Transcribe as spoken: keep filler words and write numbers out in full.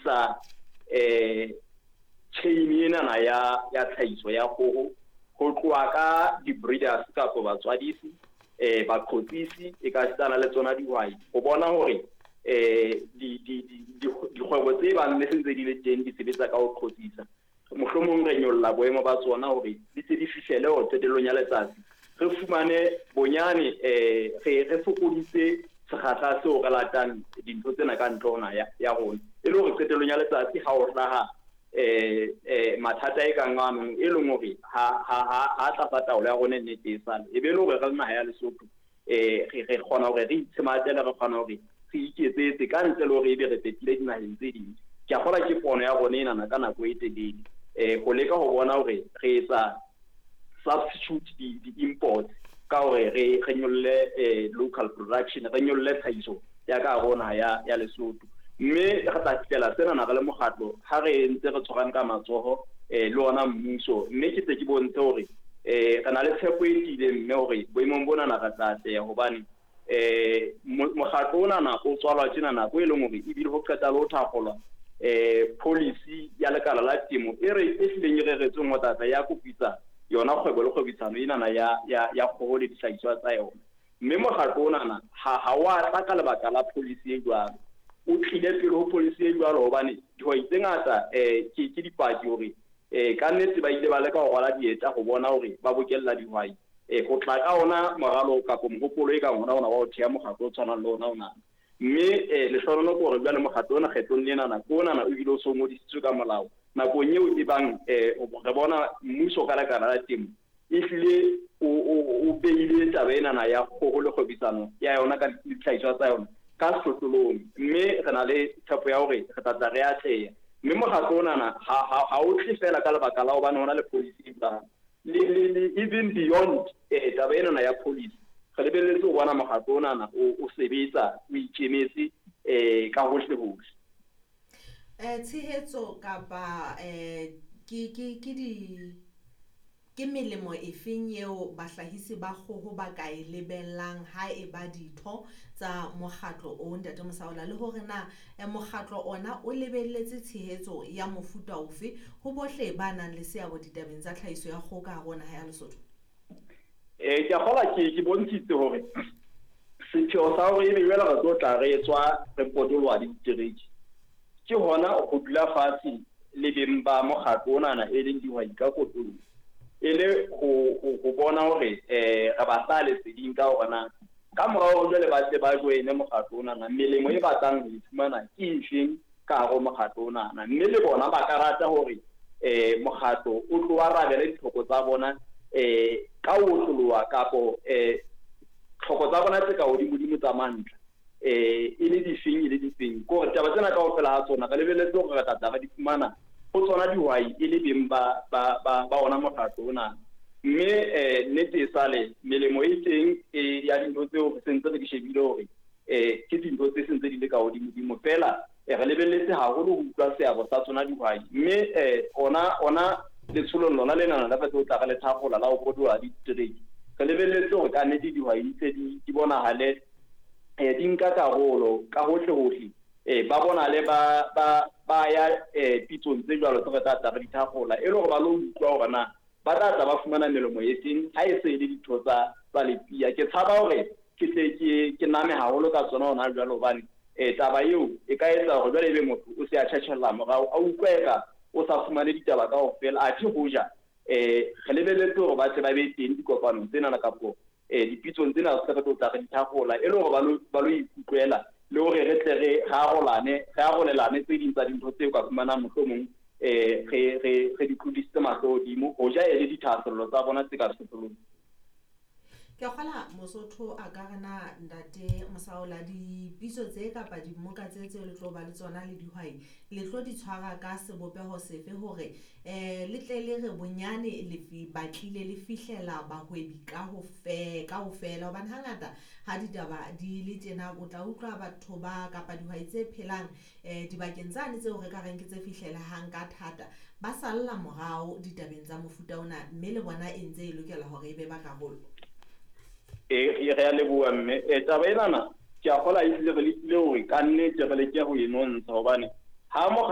akofisa eh chain enana ya ya tlhahiso ya kgoho ho tloha ka di-breeders kapa batswadisi, eh baqhotsisi e ka sitana le tsona dihwai ho bona hore eh di di dikgwebo tse bang le sentse di le teng di sebetsa ka ho qhotsisa. Mohlomong re nyolla boemo ba tsona hore di tse di fihlele hore qetellong ya letsatsi re fumane bonyane eh re re fokoditse sekgahla seo re latang dintho tsena ka ntle ho naha ya rona, e le hore qetellong ya letsatsi ha o hlaha eh eh mathata e kang ano e leng hore ha ha ha tlasa taolo ya rona nnete e sale e be le hore re le naha ya Lesotho eh re re kgona hore re itshematele, re kgona hore re iketsetse ka ntle le hore ebe re petile dinaheng tse ding. Ke a kgolwa ke pono ya rona enana ka nako e telele eh ho leka ho bona hore re etsa substitute di di-imports ka hore re re nyolle eh local production, re nyolle tlhahiso ya ka rona ya ya Lesotho. Mme re tla fihlela sena na re le mokgatlo ha re ntse re tshwarang ka matsoho eh le ona mmuso, mme ke tse ke bontshe hore eh re na le tshepo e tiileng mme hore boemong bona na re tla atleha hobane eh mokgatlo ona na o tswalwa tjena nako e leng hore ebile ho qeta le ho thakgolwa eh policy ya lekala la temo e re e hlileng e reretsweng ho tlatla ya kopitsa yona kgwebo le kgwebisano enana ya ya ya kgoho le dihlahiswa tsa yona. Mme mokgatlo onana ha ha wa tla ka lebaka la policy e jwalo, o tlile pele ho policy e jwalo hobane dihwai tse ngata eh ke ke dipaki hore eh ka nnete ba ile ba leka ho rwala dieta ho bona hore ba bokella dihwai eh ho tla ka ona moralo kapa mohopolo e kang ona ona wa ho theha mokgatlo o tshwanang le ona ona. Mme eh lehlohonolo ke hore jwale mokgatlo ona kgetlong lenana ke onana o bile o so ngodisitswe ka molao nakong eo e bang eh re bona mmuso ka lekala la temo e hlile o o beile taba enana ya kgoho le kgwebisano ya yona ka dihlahiswa tsa yona ka sehlohlolong, mme re na le tshepo ya hore re tla tla re atleha. Mme mokgatlo onana ha ha o tle fela ka lebaka la hobane hona le policy e le le even beyond eh taba enana ya policy, re lebelletse ho bona mokgatlo onana o o sebetsa o ikemetse eh ka hohle hohle. Eh tshehetso kapa eh ke ke ke di ke melemo efeng eo bahlahisi ba kgoho ba ka e lebellang ha e ba ditho tsa mokgatlo o, Ntate Mosaola, le hore na mokgatlo ona o lebelletse tshehetso ya mofuta ofe ho bohle ba nang le seabo ditabeng tsa tlhahiso ya kgoho ka hare ho naha ya Lesotho? Eh ke a kgolwa ke ke bontshitse hore sepheo sa hore ebe jwale re tlo tla re etswa re potoloha le ditereke ke hona ho dula fatshe le beng ba mokgatlo onana e leng dihwai ka kotloloho, e le ho ho bona hore eh re ba sa leseding ka hore na ka morao jwale ba tle ba joine mokgatlo onana melemo e batlang ho e fumana ke efeng ka hare ho mokgatlo onana, mme le bona ba ka rata hore eh mokgatlo o tlo arabele ditlhoko tsa bona eh ka ho otloloha kapo eh tlhoko tsa bona tse ka hodimodimo tsa mantlha eh e le difeng e le difeng. Ke hore taba tsena kaofela ha tsona re lebelletse hore re tla tla re di fumana ho tsona dihwai e le beng ba ba ba ba ona mokgatlo ona. Mme eh nnete e sale melemo e teng e ya dintho tseo re sentse re di shebile hore eh ke dintho tse sentse di le ka hodimodimo fela re lebelletse haholo ho utlwa seabo sa tsona dihwai. Mme eh ona ona letsholong lona lenana la tlo tla re le thakgola la ho potoloha ditereke, re lebelletse hore ka nnete dihwai di tse di di bonahale eh di nka karolo ka hohle hohle eh ba bonale ba ba ba ya eh pitsong tse jwalo tse re tla tla re di thakgola e le hore ba lo utlwa hore na ba tla tla ba fumana melemo e feng ha e se e le ditho tsa tsa lepia. Ke tshaba hore ke tle ke ke name haholo ka tsona hona jwalo hobane eh taba eo e ka etsa hore jwale ebe motho o se a tjhatjhella morao a utlwa eka o sa fumane ditaba kaofela, athe hoja eh re lebelletse hore ba tle ba be teng dikopanong tsena kapo eh dipitsong tsena tse re tlo tla re di thakgola e le hore ba lo ba lo ikutlwela le hore re tle re arolane re arolelane tse ding tsa dintho tseo ka fumanang mohlomong eh re re re di tlodisitse mahlo hodimo hoja e le dithahasello tsa bona tse ka sehlohlolong. Ke a kgolwa Mosotho a ka re na Ntate Mosaola dipitso tse kapa dimoka tse tseo le tlo ba le tsona le dihwai le tlo di tshwara ka sebopeho sefe hore eh le tle le re bonyane le batlile le fihlela bahwebi ka ho fe kaofela, hobane hangata ha ditaba di le tjena o tla utlwa batho ba kapa dihwai tse phelang eh dibakeng tsane tseo re ka reng ke tse fihlelehang ka thata ba salla morao ditabeng tsa mofuta ona, mme le bona e ntse e lokela hore e be ba karolo. Eh re a leboha mme eh taba enana ke a kgolwa ehlile re lekile hore ka nnete re leke ho e nontsha hobane ha mokgatlo